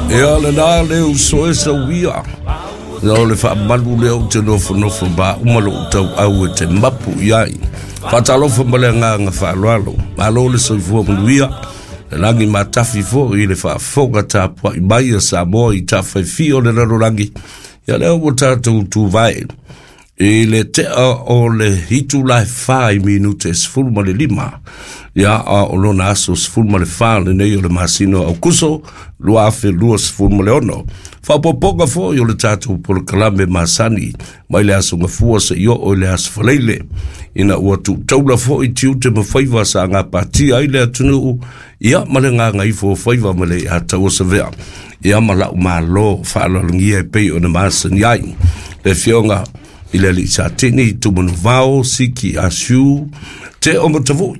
Ia lena le uso e sauia. Ia o le faamalu lea ou te nofonofo ma uma lou tauau e te mapu i ai. Faatalofa ma le agaga faaaloalo. Malo le soifua manuia. Le lagi matafi foi i le faafofoga tapuai mai a Samoa i tafaifia o le lalolagi. Ia lea ua tatou tuvae i le tea o le itula e 4:15. Ia, a o lona aso 14 lenei o le masina o Aukuso 2026. Faaopoopoga foi o le tatou polokalame masani mai le aso Gafua seia oo i le aso Faraile, ina ua tuutaula foi tiute ma faiva sa gapatia ai le atunuu, ia ma le gagaifo o faiva ma le ataua savea. Ia ma lau malo faaaloalogia e pei ona masani ai le afioga i le alii Satini Tumanuvao Siki Asiu Te o Matavui.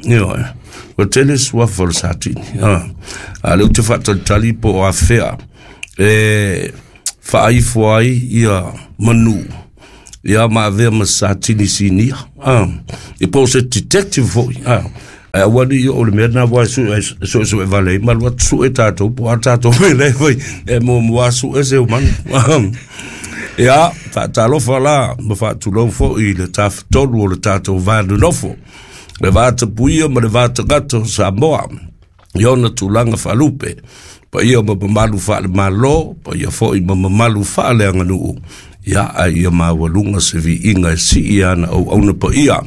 Ia, ua tele suafa o le Satini. A lea ou te faatalitali po o afea e faaifo ai ia manu, ia ma avea ma Satini sinia. E po o se detective foi. Ae aua ne i oo i le mea lena aua e suesue vale ai ma alu atu sue tatou po o a tatou mea la e fai e muamua sue se manu. Ia, faatalofa la ma faatulou foi i le tafatolu o le tatou va nonofo, le va tapuia ma le va tagata o Samoa i ona tulaga faalupe, paia ma mamalu faale-Malo, paia foi ma mamalu faaleaganuu. Ia, a ia maualuga se viiga e sii ana auauna paia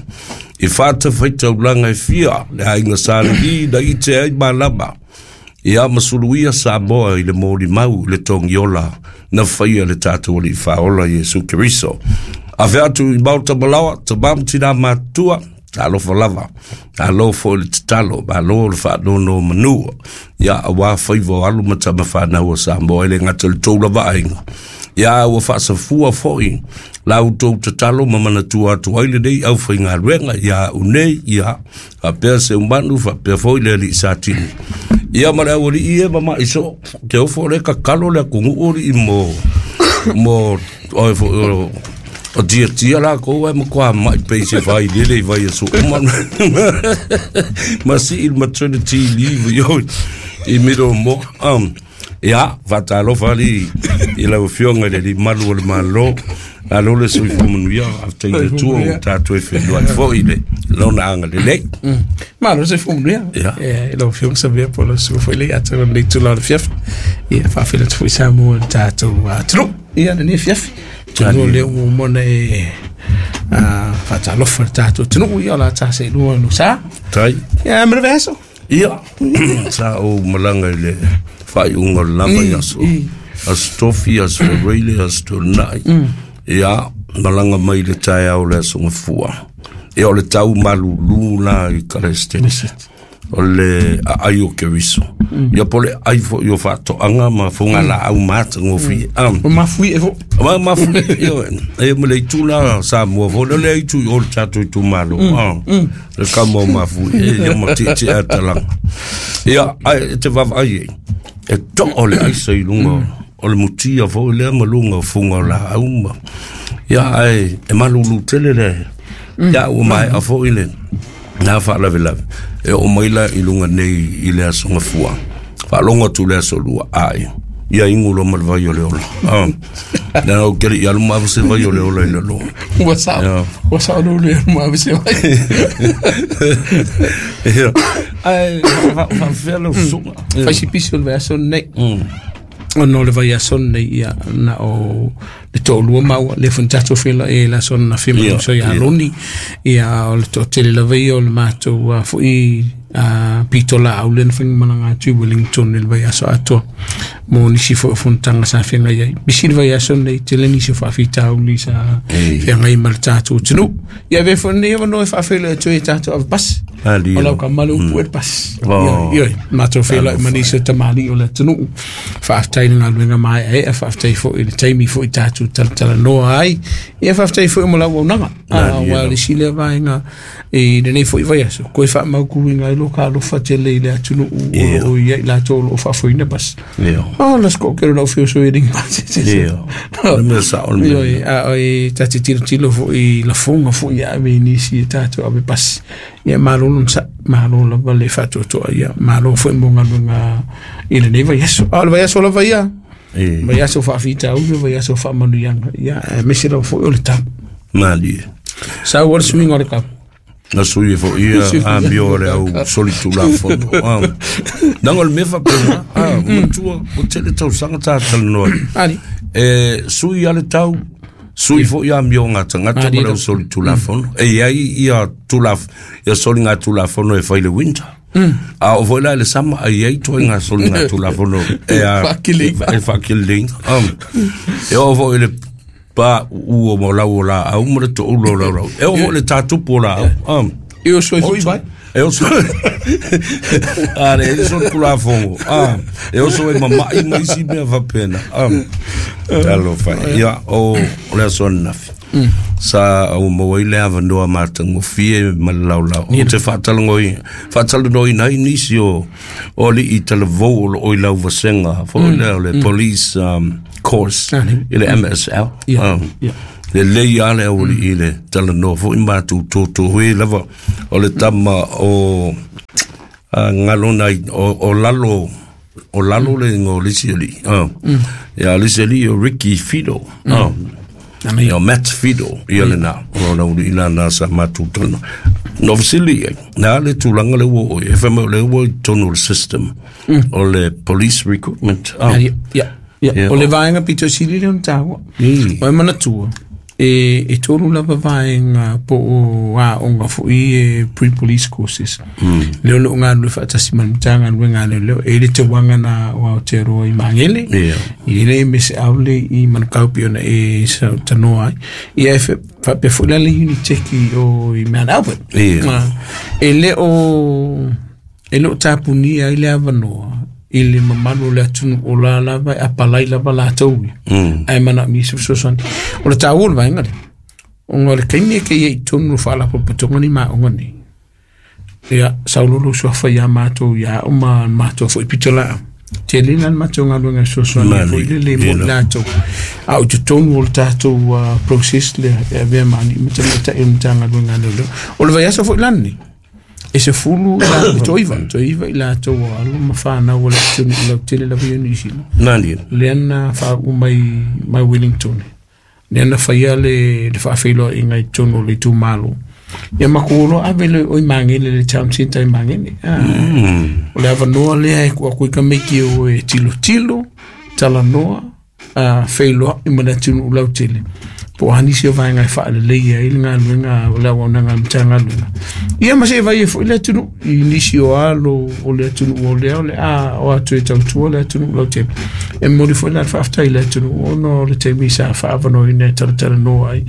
i fatafaitaulaga e fia le aiga Sa Levi na ite ai malama, ia ma suluia Samoa i le molimau i le togiola na faia le tatou Alii Faaola Iesu Keriso. Afe atu i Maota Malaoa, tama ma tina matutua, talofa lava, malo foi le tatalo, malo le faanono manu, ia aua faiva o alo ma tama fanau a Samoa e le gata i le tou lava aiga. Ia ua faasafua foi la outou tatalo ma manatua atu ai lenei aufaigaluega ia au nei, ia faapea Seumanu, faapea foi le alii Satini. Ia ma le aualii e mama'i soo, te ofo le kakalo le atunuu alii mo, mo, oe foi o, o tiatia lakou ae matua ma'i pei se vai lele i vai aso uma. Ma sii le maternity leave i oi, i middle mo. Ia, faatalofa alii i lau Afioga i le Alii Malu o le Malo. Malo le soifua manuia, faafetai i le Atua ua tatou e feiloai foi i le lona agalelei. Malo le soifua manuia. Ia. I lau Afioga Savea po o lau susuga foi le ia te lenei itula o le afiafi. Ia, faafeiloai atu foi Samoa i le tatou atunuu. Ia, lenei afiafi. Atonu o lea ua uma ona e faatalofa i le tatou atunuu. Ia, o le a ta seelua lou sa. Tai. Ia, ma le vaiaso. Ia, sa ou malaga i le faaiuga o le la vaiaso. Aso Tofi, aso Faraile, aso Toonai. Ia, malaga mai le taeao o le aso Gafua. Ia, o le tau malulu la i Kalesitene. O le aai o Keriso. Ia, po o le ai foi o faatoaga ma fogalaau matagofie. O mafuie foi. Ma mafuie, ia, e ma le itu la Samoa foi, o le itu i o le tatou itumalo. Le kama o mafuie, ia ma tietie a talaga. Ia, ai, e te vaavaai ai, e too le aisa i luga o le mutia foi lea ma luga o fuga o laau ma. Ia, ai, e malulu tele le, ia, ua maea foi le, na faalavelave, e oo mai la i luga nei i le aso Gafua. Faalogo atu le aso Lua, ai, ia inu loa ma le vai o le ola. Na ou te le i alu ma se vai o le ola i lalo. Ua sao. Ia. Ua sao lou le alu ma se vai. Ia. Ai, faafefea lau susuga? Fai si pisi o le vaiaso lenei. Ona o le vaiaso lenei, ia, na o le toalua maua, lea foi na tatou feiloai ai i le aso ananafi ma le uso ia Aloni. Ia, o le toatele lava ia o le matou foi pitolaau lea na faimalaga atu i Wellington i le vaiaso atoa mo nisi foi o fonotaga sa feagai ai. Pisi le vaiaso lenei, tele nisi o faafitauli sa feagai ma le tatou atunuu. Ia, avea foi lenei avanoa e faafeiloai atu ai i tatou ave pasi. Malie. O lau kama le upu e le pasi. Oh. Ia, ia, matou feiloai ma nisi o tamalii o le atunuu. Faafetai i le galuega maeaea, faafetai foi i le taimi foi tatou talatalanoa ai. Ia, faafetai foi mo lau auaunaga. Malie Aua o lava. le isi lea vaega i lenei foi vaiaso, koe faamautuina ai lo ka alofa tele i le atunuu o Ia. lo o i ai latou o lo o faafoeina pasi. Ia. Oh, la sco ke lau fio so i ringa pasi. Ia. O le mea sao le mea. Ioe, a o e ta te tilotilo foi i lafoga foi ia ave i nisi e tatou ave pasi. Ia, malo lona sa, malo lava le faatoatoa, ia, malo foi mo galuega I lenei vaiaso. A o le vaiaso lava ia, vaiaso faafitauli, vaiaso faamanuiaga, ia aemaise lava foi o le tau. Malie. Sau o le suiga o le kau. Na sui e fo ia a mio o le au soli tulafono. Nanga o le mea faapena, matua, o tele tausaga tatalanoa ai. Ali. E sui a le tau, sui foi a mio ngā tagata ma le au soli tulafono. E iai ia tulaf, ia soli ngā tulafono e fai le winter. A o foi la i le sama, a iai toi ngā soli ngā tulafono e a Faakiliga. E faakiliga. E o foi le pa u o mo lau o la au ma le to'ulo o lau lau. E o foi le tatupu o la au. E o soi foi vai. E oso a le e so tulafono. E oso e mama'i ma isi mea faapena. Talofa e. Ia, o le aso ananafi. Sa au maua ai le avanoa matagofie ma le laolao. Ou te faatalanoaina ai nisi o alii talavou o loo i lau vasega foi lea o le police course i le MSL. Lelei lava le aualii i le talanoa foi matou totoe lava o le tama o galona o lalo o lalo le igoa o le isi alii. Ia, o le isi alii o Ricky Fido. Ia, o Matt Fido ia lena o le aualii lana sa matou talanoa. Na fesili ai, na le tulaga le ua oo i ai, e fai mai o le ua i totonu o le system o le police recruitment. Ia, o le vaega pito sili lea ona taua. O e manatua, e tolu lava vaega po o aoga foi e pre-police courses. Lea o loo galulue faatasi ma le Matagaluega a Leoleo, e i le tauaga na o Aotearoa i Magele, i le MSL le i Manukau pei ona e tanoa ai. Ia e faapea foi la le Unitec o i Mount Albert. E le o tapunia ai le avanoa i le mamalu o le atunuu o la lava e apalai lava latou ia. Ae manaomia se fesoasoani. O le taua o le vaega lea, ona o le taimi e kei ai i totonu o faalapotopotoga nei ma aoga nei, ia saololo suafa ia matou ia au ma matou foi pitolaau. Tele la le matou galuega e fesoasoani foi lele mo i latou. A o i totonu o le tatou process lea e avea ma alii ma tamaitai o le Matagaluega a Leoleo. O le vaiaso foi la lenei, e 10 i toaiva i latou o alo ma whanau o le atunuu lautele lava ia Niu Sila. Lea na faauu mai Wellington. Lea na faia le faafeiloaiga i totonu o le itumalo. Ia matou loa ave le o i Magele, le town centre i Magele. O le avanoa lea e tuu atu ai tamaiti o e tilotilo, talanoa, feiloai ma le atunuu lautele. Po o a nisi o vaega e faaleleia ai le galuega o le auaunaga a le Matagaluega. Ia ma se vai ai foi le atunuu i nisi o alo o le atunuu o lea o le a o atu e tautua le atunuu lautele. E momoli foi la le faafetai i le atunuu ona o le taimi sa faaavanoaina e talatalanoa ai.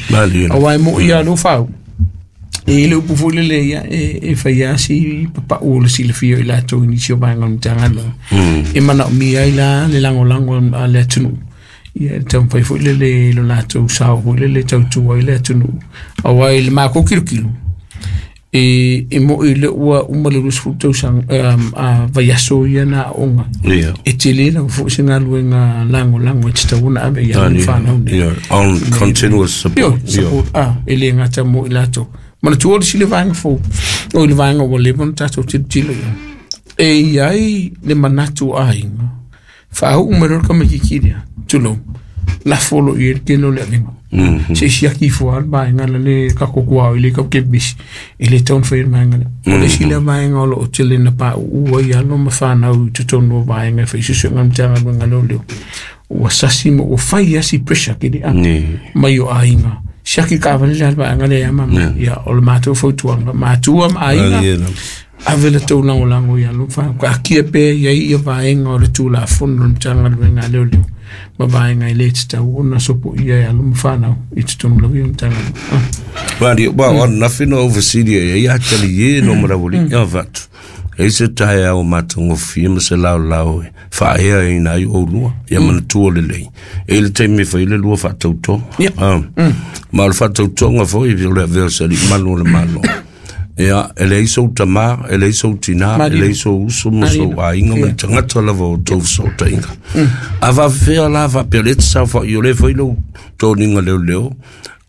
Aua e moi lava lou fau. E le upu foi lele ia e fai lava si papau o le silafia o i latou i nisi o vaega o le Matagaluega. E manaomia ai la le lagolago a le atunuu. Ia e taumafai foi lele i lo latou sao foi lele tautua ai le atunuu. Aua i le matou kilokilo, e moi le ua uma le 20 tausaga a vaiaso ia na aoga. E tele lava foi se galuega lagolago e tatau ona ave i alo ma fanau nei. On continuous support. Support, e le gata mo i latou. Manatua le sile vaega fou, o le vaega ua leva ona tatou tilotilo i ai. E i ai le manatu o aiga, faauu mai loa le tamaitiiti lea, tulou, lafo loa i ai le tele o le avega. Se siaki ifo lava le vaega la le tatou tuaoi le tau kemisi, e le tatau ona faia le vaega lea. O le isi lea vaega o loo tele na pauu ai alo ma fanau i totonu o vaega e fai suesuega a le Matagaluega a Leoleo. Ua sasi ma ua fai lava si pressure kili mai o aiga. Siaki taavale le a le vaega lea ia mama. Ia, o le matou fautuaga, matua ma aiga, ave le tou lagolago i alo ma fanau. Taatia pea i ai ia vaega o le Tulafono o le Matagaluega a Leoleo ma vaega e le tatau ona sopoia e alo ma fanau i totonu lava ia o Matagaluega. Mali, wa o ananafi na ou fesili ai ia tali e no marawali ia fatu. E se taeao matagofie ma se laolao e faaea ai na ai oulua ia manatua lelei. E i le taimi e fai le lua faatautoga. Ma o le faatautoga foi o le avea o se alii malu o le Malo. Ia, e leai sou tamā, e leai sou tinā, e leai sou uso ma sou aiga ma le tagata lava o tou fesootaiga. A faafefea la faapea o lea e te saofai o lea e fai lou toniga leoleo,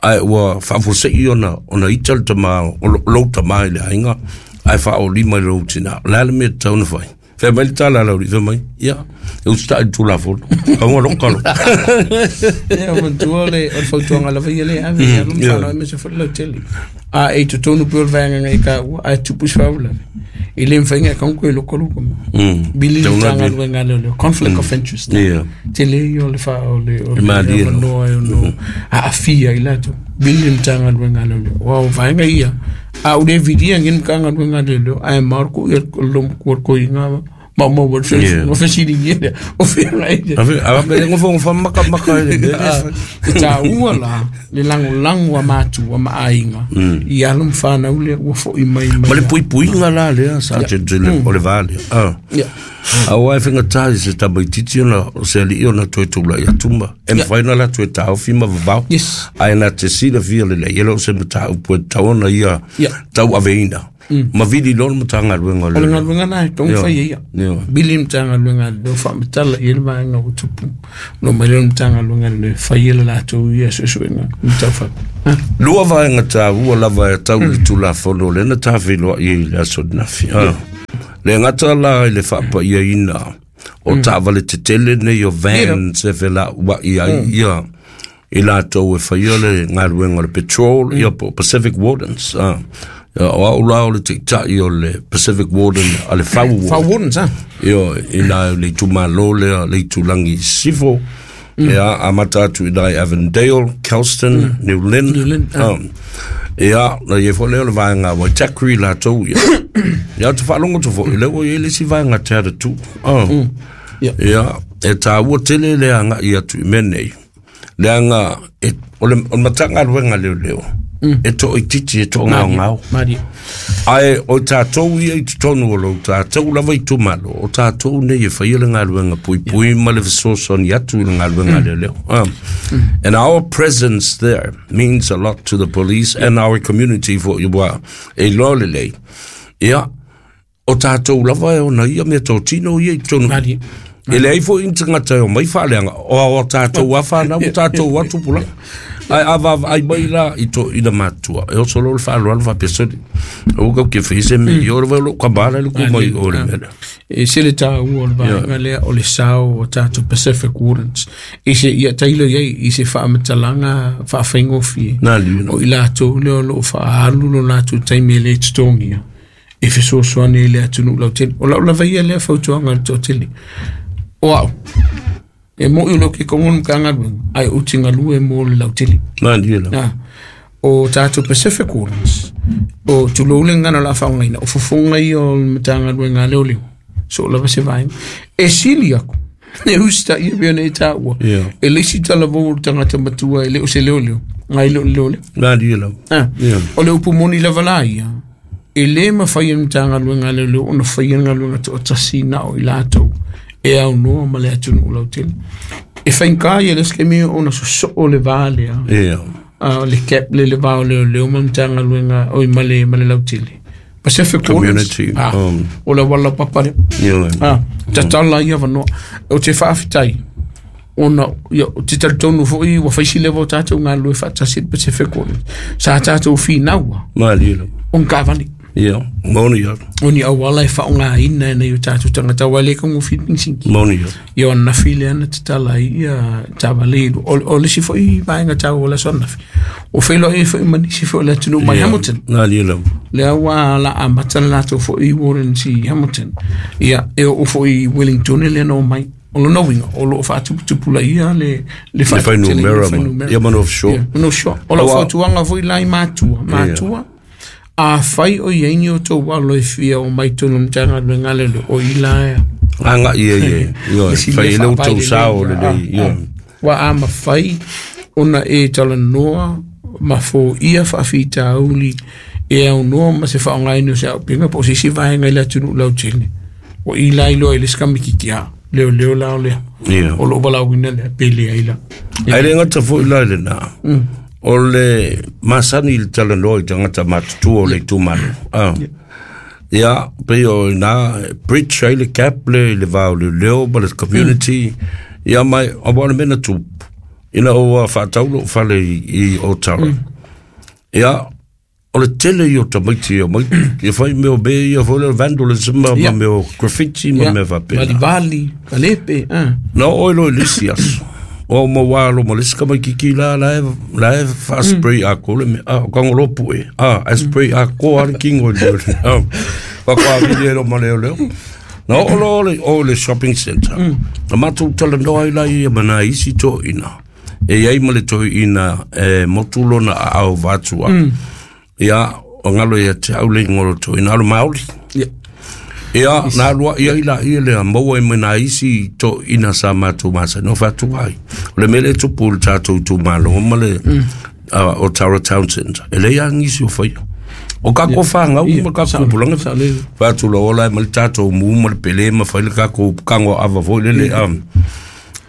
ae ua faafuasei ona ita le tamā, o lou tamā i le aiga, ae faaolima i lou tinā. O le a le mea e tatau ona fai? Fai mai le tala a lau fai mai, ia, e usitai i le Tulafono, aua lou kalo. Ia, manatua le, o le fautuaga lava ia lea e ave i alo ma fanau aemaise foi le lautele. A e i totonu pea o le vaega na e taua, ae tupu se faalavelave, e le mafai ona e tago toe loko lou tama. Vili le Matagaluega a Leoleo, conflict of interest. Tele ia o le fa o le o le avanoa e ono aafia ai latou. Vili le Matagaluega a Leoleo. Aua o vaega ia, a ou le vilia nei le Matagaluega a Leoleo, ae mao le loomatua o le toeaina maumau ai le soifua. Fesiligia lea, o fea la e Ave ave le nofonofo makamaka i le mea lea e fai. E taua la le lagolago a matua ma aiga i alo ma fanau lea ua foi mai mai. Ma le puipuiga la lea sa tele o le va lea. Aua e faigata i se tamaitiiti ona o se alii ona toe tulai atu ma e mafai ona latou e taofi ma vavao. Ae na te silafia lelei, e le o se mataupu e tatau ona ia tauaveina. Ma vili loa le Matagaluega o O le galuega lena e tatau ona fai e ia. Vili le Matagaluega a Leoleo faamatala i ai le vaega ua tupu. Ona omai lea o le Matagaluega a Leoleo e fai e le latou ia suesuega mataufaapea. Lua vaega taua lava e tau i le Tulafono lea na tafeiloai ai i le aso ananafi. Le gata la i le faapaiaina o taavale tetele nei o vans e felauai ai ia i latou e faia le galuega o le patrol, ia po o Pacific Wardens. Ia, o au la o le taitai o le Pacific Warden a le Fau Ward. Fau Wardens, ah. Ia, i nā le itumalo lea, le itulagi i Sisifo. Ia, amata atu i nā i Avondale, Kelston, New Lynn. New Lynn, ah. Ia, na i ai foi lea o le vaega Waitakere latou ia. Ia, ou te faalogo atu foi, lea ua i ai le isi vaega Te Atatū. Ia, e taua tele le agai atu i mea nei. Leaga e, o le, o le Matagaluega Leoleo, e toaitiiti, e toagaogao. Malie. Ae o tatou ia i totonu o lou tatou lava itumalo, o tatou nei e faia le galuega puipui ma le fesoasoani atu i le galuega leoleo. And our presence there means a lot to the police and our community for ua e iloa lelei. Ia, O tatou lava e ona ia mea totino ia i totonu. Malie. E leai foi ni tagata e omai faaleaga, o a tatou a fanau, o tatou a tupulaga. Ae a vaavaai mai la i toeaiina matutua, e oso loa le faaaloalo faapea, sole, aua kau te fai se mea, ia o le vai o lou tama la e luku mai o le mea lea. E se le taua o le vaega lea o le sao o tatou Pacific Wardens. I se, ia tailo i ai, i se faamatalaga faafaigofie. Nā liu. O i latou lea o lo o faaalu lo latou taimi e le totogia. E fesoasoani i le atunuu lautele. O lau lava ia lea fautuaga i le toatele. O au, e moi o lou ke kongo le Matagaluega, ae ou te galue mo le lautele. Malie lava. Ah, o tatou Pacific Wardens, o tulou le gagana o le a faaaogaina, o fofoga ia o le Matagaluega a Leoleo, soo lava se vaega. E sili aku, e usitaia e pei ona e taua, e le isi talavou o le tagata matua e le o se leoleo, nai le o le leoleo. Malie lava. Ah, o le upu moni lava la ia, E le mafai e le Matagaluega a Leoleo ona faia le galuega toatasi na o i latou e aunoa ma le atunuu lautele. E faigata ia le isi taimi ona sosoo le va lea, le gap lea i le va o leoleo ma le Matagaluega, oi ma le, ma le lautele. Pacific Community, o le auala laupapa lea. Tatala ia avanoa. Ou te faafetai ona ia, ou te talitonu foi ua fai si leva o tatou galulue faatasi i le Pacific Wardens. Sa tatou finaua Malie lava. o ni taavale. Ia, moni ia. O ni auala e faaaogaina e nai o tatou tagata aua e le taugofie le penisini. Moni ia. Ia o ananafi lea na tatala ai ia taavale i o le isi foi vaega taua o le aso ananafi. Ua feiloai ai foi ma nisi foi o le atunuu mai Hamilton. Malie lava. Lea ua la amata le latou foi Wardens i Hamilton. Ia, e oo foi i Wellington lea na omai. O lona uiga, o lo o faatuputupulaia le le fuainumera ma, ia ma North Shore. Ia, ma North Shore. O lau fautuaga foi la i matua, matua, afai o i ai ni o outou alo e fia omai i totonu o le Matagaluega a Leoleo, o i la e agai i ai e, ioe, fai ai le outou sao lelei, ioe. Aua a mafai ona e talanoa ma foia faafitauli e aunoa ma se faaaogaina o se auupega po o se isi vaega i le atunuu lautele, ua i la iloa i le isi kamititi, a leoleo la o lea o lou valaauina lea pe leai la. Ae le gata foi la i lena, o le masani i le talanoa i tagata matutua o le itumalo. Ia, pei o ina bridge ai le gap le i le va o leoleo ma le community. Ia mai, aua o le mea na tupu, ina ua faatau lou fale i Otara. Ia, O le tele i o tamaiti o mai ia fai mea o mea ia foi le vandalism ma mea o graffiti ma mea faapena. Valivali, kalepe, Na oo ai loa i le isi aso, ua uma ua alo ma le isi tamaititi la la e la e faa-spray atoa le mea, o Tagoloa Pue, ae spray atoa lava le tino i le mea faatoa vili ai loa ma leoleo. Na oo loa i o i le shopping centre, na matou talanoa ai la ia ma nai isi toeaiina, e i ai ma le toeaina e motu lona aao vatua. Ia, o galo ia te au le igoa o le toeaina, o le Māori. Ia, na alu ai ai laia lea, maua ai ma nai isi toeaiina sa matou masani, o faatua ai. O le mea lea e tupu i le tatou itumalo ma le o Tara Townsend, e leai lava nisi o faia. O tatou fanau ma tatou tupulaga, fai atu loa ola ai ma le tatou mu ma le pele ma fai le tatou tago ava foi lele.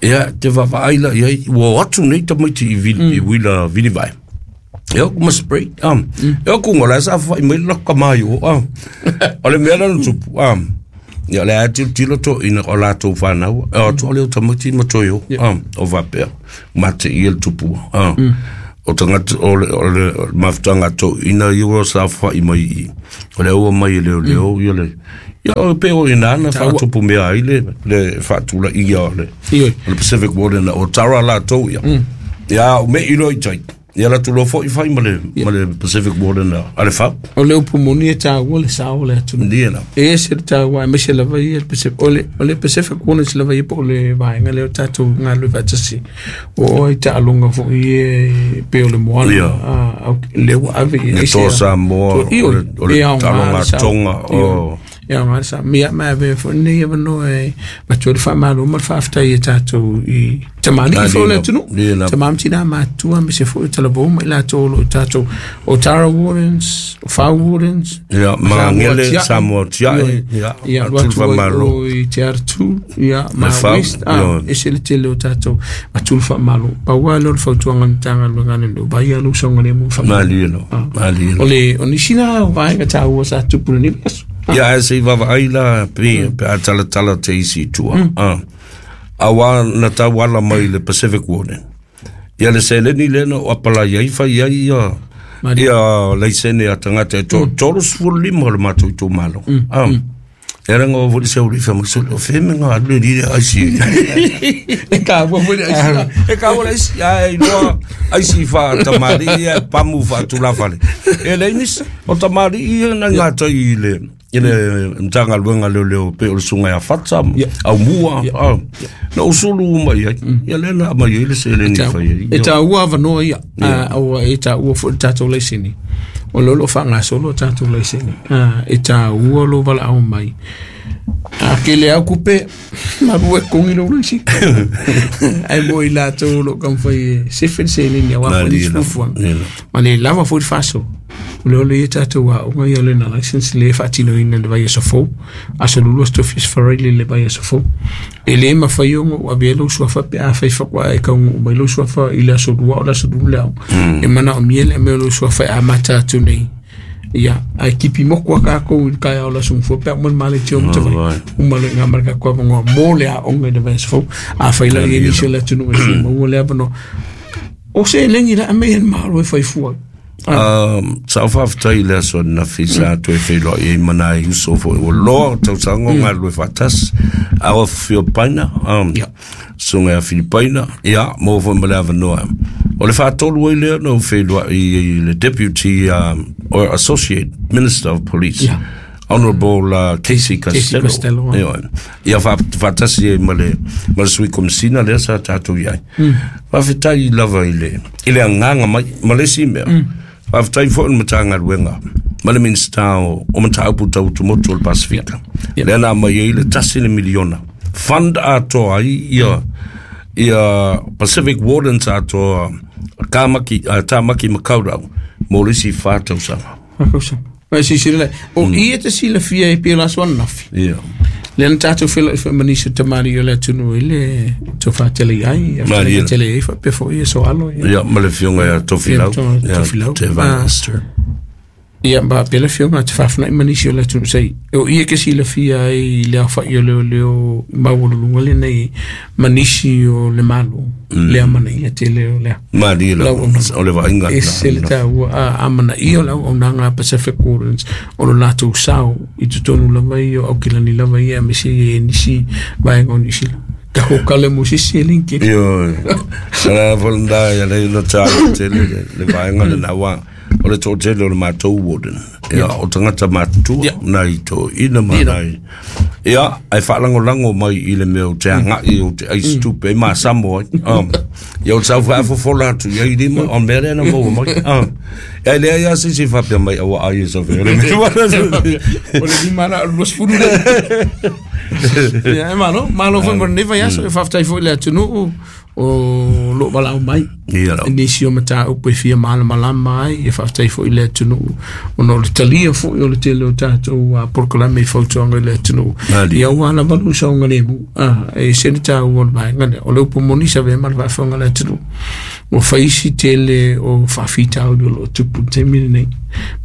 Ia, te vaavaai la i ai, ua o atu nei tamaiti i i Vila Vilivae. E o ma spray. E o kunga la sa fai mai la ka mai o. O le mea la na tupu. Ia le a tilotilo toeaiina o latou fanau. E o atu o le o tamaiti ma toe o. O faapea. Ma te ia le tupu. O tagata o le mafutaga a toeaiina ia ua saofai mai i i. O lea ua mai e leoleo ia le ia o pe o ina na faatupu mea ai le faatulaia o le o le Pacific Warden o Tara latou ia. Ia o me i loa i tai. Ia latou loa foi fai ma le Pacific Warden a le FAU. O le upu moni e taua le sao o le atunuu. Ia la. E ese le taua aemaise lava ia le Pacific, o le Pacific Warden lava ia po o le vaega lea o tatou galulue faatasi. O oe i taaloga foi e pe o le moana lea ua ave i Le Toa Samoa, o le taaloga a Tonga, o E aoga le sao. Ia ma avea foi lenei avanoa e avatu ai le faamalo ma le faafetai i tatou i tamalii foi o le atunuu. Tama ma tina matutua aemaise foi o talavou ma i latou o lo o tatou o Tara Wardens, o Fau Wardens, Ia, Magele, Samoa Tiae, ia, ia, alu atu ai o i Te Aratū, ia, ma West, ese le tele o tatou atu le faamalo. Pau lava lea o le fautuaga a le Matagaluega a le Nuu, vaai lava lou saogalemu faamalo. Malie lava, malie lava. O le, o nisi na o vaega taua sa tupu i lenei vaiaso. Ia, ae se i vaavaai la, pe a talatala te isi i tua. Aua na tau ala mai le Pacific Warden. Ia le seleni lea na ou apalai ai fai ai ia ia laisene a tagata e 35 o le matou itumalo. E ala ngā foi se uri wha mai o whe me ngā alu le rire aisi. E kāua foi le aisi. E kāua le aisi, ai loa aisi wha tamari ia pamu wha tulawhale. E le nisi, o tamari ia na ngā tai i le i le Matagaluega leoleo pe o le susuga ia Fata au mua na ou sulu uma i ai ia lea na aumai ai le seleni e fai ai. E taua avanoa ia, aua e taua foi le tatou laisene. O lea o lo o faagasolo a tatou laisene. E taua lou valaau mai. A kele au kupe, malu e kongi lou laisene. Ae mo i latou o lo o taumafai e sefe le seleni aua foi nisi fuafuaga. Ma le lava foi le faasoa. O lea o le ia tatou aoga ia learner license lea e faatinoina i le vaiaso fou, aso lua aso tofi aso faraile i le vaiaso fou. E le mafai ona ou avea lou suafa pe afai faatoa e taunuu mai lou suafa i le aso lua o le aso lua le aoga. E manaomia le aumai o lou suafa e amata atu nei. Ia, ae kipi moku a kākou i le taeao o le aso Gafua pe a uma le maletia o Matavai. Uma loa i ina ma le tatou avanoa mo le aoga i le vaiaso fou. Afai la e i ai nisi o le atunuu e fia maua le avanoa. O seleni la e aumai e le Malo e fai fua ai. Sa ou faafetai i le aso ananafi sa toe feiloai ai ma nai uso foi ua loa o tausaga o galulue faatasi. A o Filipaina, susuga ia Filipaina, ia, maua foi ma le avanoa. O le faatolu ai lea na ou feiloai i le Deputy or Associate Minister of Police. Honourable Casey Costello. Costello, ah. Ioe. Ia faatasi ai ma le Sui Komesina lea sa tatou i ai. Faafetai lava i le agaga mai ma le isi mea. Faafetai foi i le Matagaluega ma le Minisita o Mataupu Tau Tumotu o le Pasefika. Lea na aumai ai le $1 miliona. Fund atoa ai ia Pacific Wardens atoa Tāmaki Makaurau mo le isi 4 tausaga. Whakausa. Mai silasila lai. O i e te silafia e pei o le aso ananafi. Lea na tatou feiloai foi ma nisi o tamalii o le atunuu i le tofa tele i ai, a Malie. tele i ai faapea foi ia Soalo. Ia, ma le afioga ia Tofilau. Ia, Tofilau. Te Van Aster. Ia ma pela fioga te faafunai ma nisi o le atunuu sai o ia ke silafia ai le aofa'i o leoleo maualuluga lenei ma nisi o le Malo le amanaia tele o lea Malie la o le vaaiga ese le taua amanaia o le auaunaga a Pacific Wardens o lo latou sao i totonu lava ia o Aukilani lava ia aemaise ia nisi vaega o Niu Sila takou kale mo sisi e linki. Ioe. Sa fo nda ia le no ta tele le vaega le na wa o le toatele o le matou warden. Ia o tagata matutua nai toeaiina ma nai ia ae faalagolago mai i le mea o te aga'i o te aisi tupe ai masamo ai. Ia o le sau faafofola atu i ai lima o le mea lea na maua mai. Ia leai lava se isi faapea mai aua ai e safe o le mea. O le lima la o le 20 le. Ia e malo, malo foi mo lenei vaiaso, e faafetai foi i le atunuu o loo valaau mai. Ia lau. Nisi o mataupu e fia malamalama ai, e faafetai foi i le atunuu ona o le talia foi o le tele o tatou polokalame i fautuaga i le atunuu. Malie. Ia ua lava lou saogalemu, e ese le taua o le vaega lea. O le upu moni sa avea ma le faafofoga a le atunuu. Ua fai isi tele o faafitauli o loo tupu i le taimi lenei.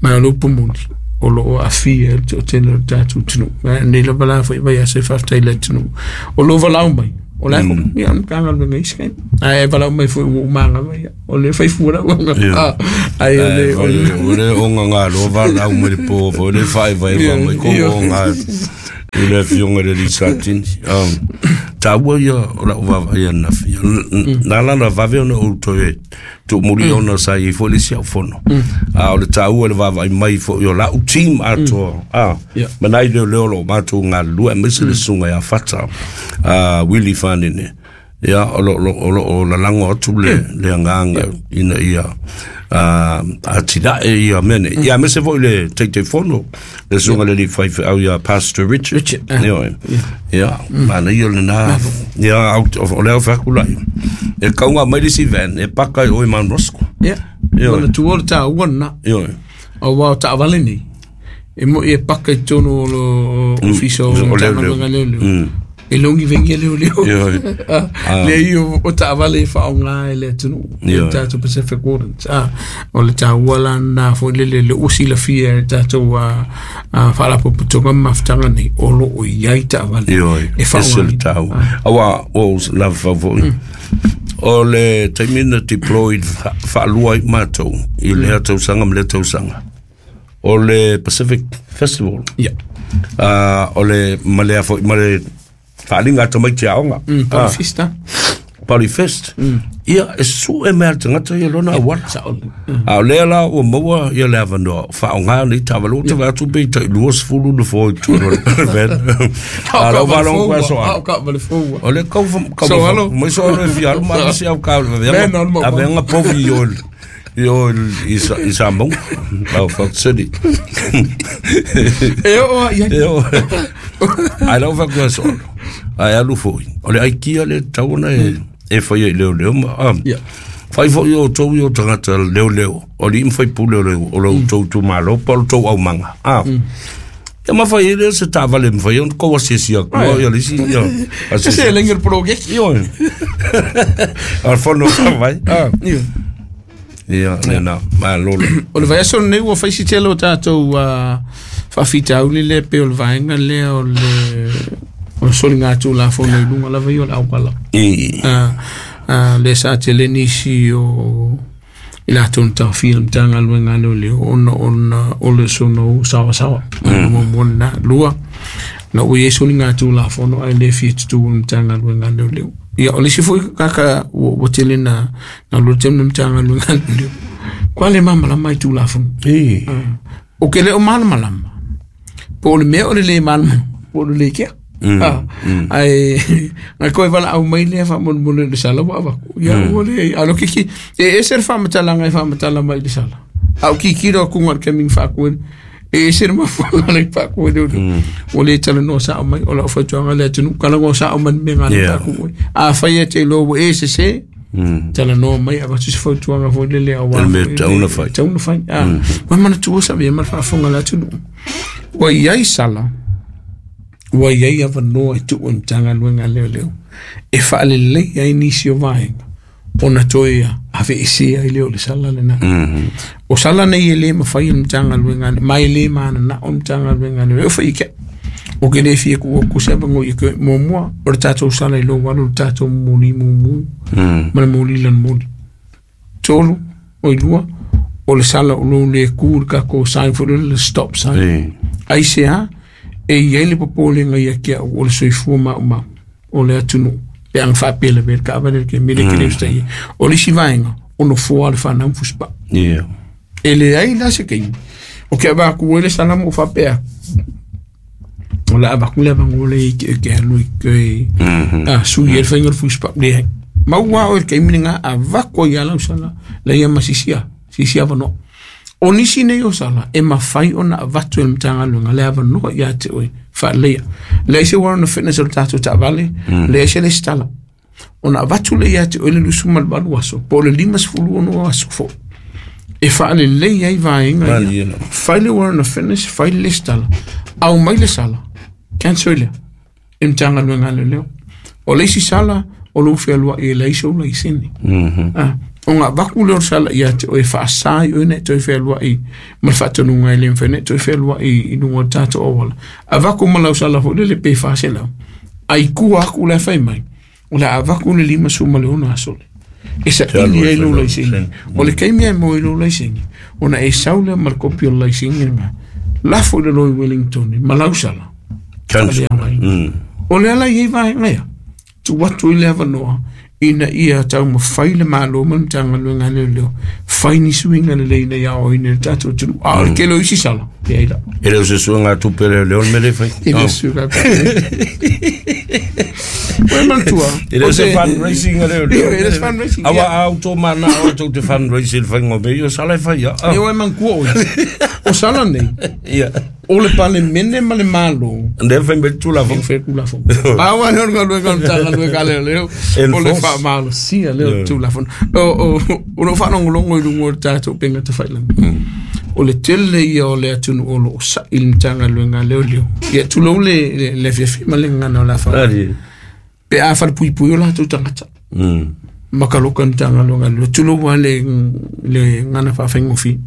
Ma o le upu moni, o loo aafia le toatele o le tatou atunuu. Nei lava la foi vaiaso e faafetai i le atunuu o loo valaau mai. O la ko ia na kanga le ngai skai. Ai valaau mai foi ua umanga ia. O le fai fua la ua. Ai o le o le o le onga ngā loa valaau mai le po foi le faevaeva mai ko onga i le afioga i le alii Satini. Taua ia o lau vaavaai ananafi. Na ala ona vave ona ou toe tuumuli ona sa i ai foi le isi au fono. A o le taua i le vaavaai mai foi o lau team atoa. Ma nai leoleo o loo matou galulue aemaise le susuga ia Fata, Willie Fanene. Ia o loo lalago atu le le agaga ina ia atinae ia mea nei. Ia aemaise foi le Taitaifono, le susuga i le alii faifeau ia Pastor Richard. Richard. Ioe. Ia, manaia lena. Ia, o lea o fai atu lai. E kauga mai le isi van, e paka i o i Mount Roskill. Ia. Ioe. Ona tuua le taua lena. Ioe. Aua o taavale nei. E moi e paka i totonu o le ofisa o O leoleo. Matagaluega a leoleo. E logi vengi e leoleo. Ioe. Le ia o taavale e faaaoga e le atunuu. Ioe. Le tatou Pacific Wardens. O le taua la lena foi lele le ua silafia e le tatou faalapotopotoga ma mafutaga nei o loo i ai taavale. Ioe. E Ese le faaaogaina. taua. Aua ua ou lava fau foi. O le taimi na deployed faalua ai matou i lea tausaga ma lea tausaga. O le Pacific Festival. Ia. O le ma lea foi ma le faaaliga a tamaiti aoga. Polyfest. Polyfest. Ia e sue mai a le tagata ia lona auala. Sao. A o lea la ua maua ia le avanoa faaaoga nei taavale ua te vaai atu pe tai 20 nofoa i totonu o le van. A lau faalogo koe aso Au ka vale fou. O le kau kau So alo. mai so alo e fia alu ma avisi au ka Man, alo ma- aveaga povi i o i o i sa i Samoa. Au Fox City. E o ia. E o. Ai lau faapea aso alo. Ai alu foi. O le aikia le tatau ona e e faia i leoleo ma Ia. Fai foi o outou i o tagata leoleo, o alii ma faipule o le o lo outou itumalo po o le tou aumaga. Ia ma fai ai lea se taavale mafai ona kou asiasi atu ia le isi ia Se asiasi. lengi le project. Ioe. O le fono faavae. Ia. Ia, lena, malo le. O le vaiaso lenei ua fai si tele o tatou faafitauli lea pe o le vaega lea o le o le soliga tulafono i luga lava ia o le auala. I. Le sa tele nisi o i latou na taofia le Matagaluega a leoleo ona ona o le sono sawasawa. Muamua lena. Lua, na ua i ai soliga tulafono ae le fia tutu le Matagaluega a leoleo. Ia o le isi foi kaka ua tele na lua tele le Matagaluega a leoleo. Kua le malamalama i tulafono. I. O ke le o malamalama. Po o le mea o le le malamalama, po o le le kea. Ai ngai koe valaau mai lea faamolemole i le sala ua avatu. Ia ua le alo kiki e ese le faamatalaga e faamatala mai i le sala. A o kikilo atu le kemi faakuele. E ese le mafuaaga le faakuele o le. Ua le talanoa sao mai o lau fautuaga le atunuu talanoa sao mai le mea gale faaku. A fai e te iloa ua e sese. Talanoa mai avatu se fautuaga foi lele aua. Le mea tatau ona fai. Tatau ona fai. Ua manatua sa avea ma le faafofoga a le atunuu. Ua i ai sala, ua i ai avanoa e tuu e Matagaluega a leoleo e faalelei ai nisi o vaega ona toe aveesea ai lea o le sala lena. O sala nei e le mawhai o Matagaluega mai le mana na o Matagaluega le o fai ke o ke le fia ku ku se bango i ke mo mo o le tatou sala i lo walu le tatou moli mumu ma le moli lan moli tolu o i lua o le sala o lo le ku le kako sign for le stop sign ai se a e i le popolenga ia kia o le soifua ma o le atunu pe ang whaapele pe ka avale ke mele ke le ustai o le isi vaenga o no fua le whanau fuspa. Yeah. E le ai la se kei. O ke va ku ele sala mo fa pea. O la va ku le va ngole ke ke lu ke. Ah su ye fa ngol fuspa le. Ma wa o ke minga a va ko ya la sala le ya masisia. Sisia va no. O nisi nei o sala e mawhai o na avatu e mtanga le ava no ia te oi fa le. Le se wa no fitness o tato ta vale. Le se le stala. O na avatu le ia te oi le lusuma le valu aso. Po le lima sefulu ono aso fo. E whaale lei ai vaenga ia. Whai le warrant of fitness, whai le stala. Au mai le sala. Cancel lea. E mtanga luenga le leo. O leisi sala, o lo whenua e leisi o leisini. O ngā waku leo sala ia te oe whaasai oe ne toi whenua i ma whaatanunga i le mwhene toi whenua i nunga tātou o wala. A waku malau sala fo le pe whaase lau. Ai kua aku le whai mai. O le a waku le lima suma le ono asole. E sa ili ai lo laisini. O le keimia e mo i lo laisini. O na e saule ma le kopi o laisini nga. Lafo i le loi Wellington, ma lausala. O le ala i vai ngaia. Tu watu i le avanoa. Ina ia tau mawhai le malo ma mtanga luenga leo leo. Whai ni suinga le leina ia o ina le tātou tunu. A o le kelo isi sala. E ai la. E leo se suinga tupe leo leo mele whai. E leo suinga tupe. Oe mantua. E leo se fundraising a leo leo. E leo se fundraising. Awa au tō mana o tau te fundraising whaingo me i o sala e whai. E oe mankua oe. O sala nei. Ia. O le pale mene ma le malo. Ne whai me tūlafo. E whai tūlafo. Awa leo nga luenga mtanga luenga leo leo. O le wha malo sia leo tūlafo. O lo whanongolongo i lungo o tātou penga te whailanga. O le tele ia o le atunu o lo o sa il mtanga luenga leo leo. Ia tulou le fiafi ma le ngana o la wha. Pe a whare pui pui o la tau tangata. Makaloka mtanga luenga leo. Tulou a le ngana whawhengofi.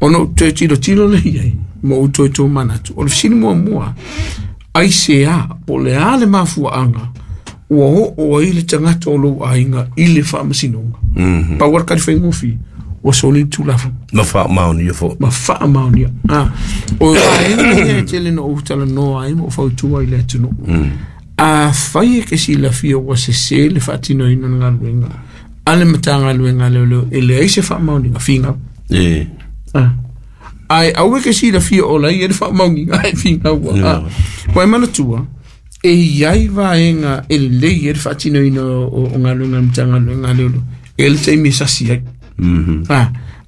Ono te tiro tiro le iai. Mo uto tō manatu. O le sini mua mua, ai se a, po le a le mafua anga, ua o o ai le tangata o lou ainga i le whaamasinonga. Pa wara kari whaingofi, ua soli tūlafo. Ma whaamaonia fo. Ma whaamaonia. O aenga ia e tele no utala noa ai mo whautua i le atunu. A whai e ke silafia ua se se le whaatino ina ngā luenga. Ale matanga luenga leo leo, e le ai se whaamaoninga, whingau. Ai aue ke sila fia o lai e le whaamaungi ai whingau ua. Wai manatua, e iai vaenga e lei e le whaatino ina o ngā luenga mtanga luenga leo leo. E le teimi sasi ai.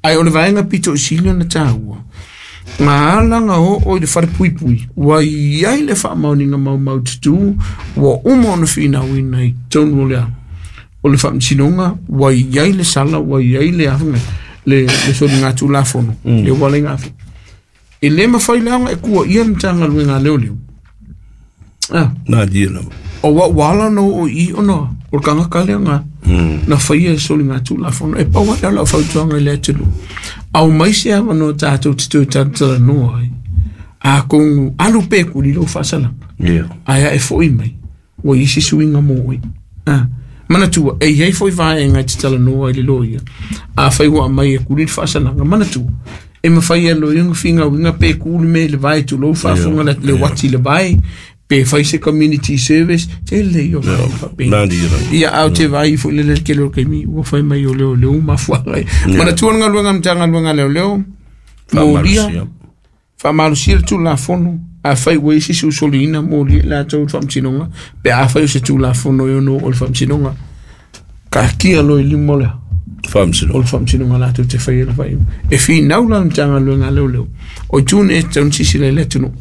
Ai o le vaenga pito i sila na tāua. Ngā alanga o o i le whare pui pui. Ua iai le whaamauninga mau mau tutu, ua uma ona whinau ina i tonu o lea. O le whaamsinonga, ua iai le sala, ua iai le awhanga. Le soli ngā tūlafono, le wale ngā whi. E le mawhai leanga e kua ia mtanga luenga leo leo. Nā dia lava. O wa wala no o i ona, o kanga kalea ngā, na whai e soli ngā tūlafono, e pawa leo lau whautuanga i le atulu. Au mai se awa no tātou te tau tātala noa ai. A kongu alu pēku li lou whaasalanga. Aia e fo i mai, ua isi suinga mō oi. Manatua, e iei foi vaenga i te tala noa i le loia. A whai wa mai e kuri le whaasalanga. Manatua, e mawhai e loia nga whinga winga pe kuri me le vai tu lou whaafunga le wati le vai, pe whai se community service, te le o vai whapena. Ia au te vai fo le le kelo keimi, ua whai mai o leo leo mafuanga. Manatua nga luenga mtanga luenga leo leo, mōlia, whaamalusia le tūlafono, a whai ua isi susoliina mō lia la tau whamtinonga, pe a whai o se tūlafono i ono o le whamtinonga. Ka kia loi limo lea. O le whamtinonga la tau te whai e le whai. E whinau la mtanga luenga leo leo. O tūne e taun sisi le tunu.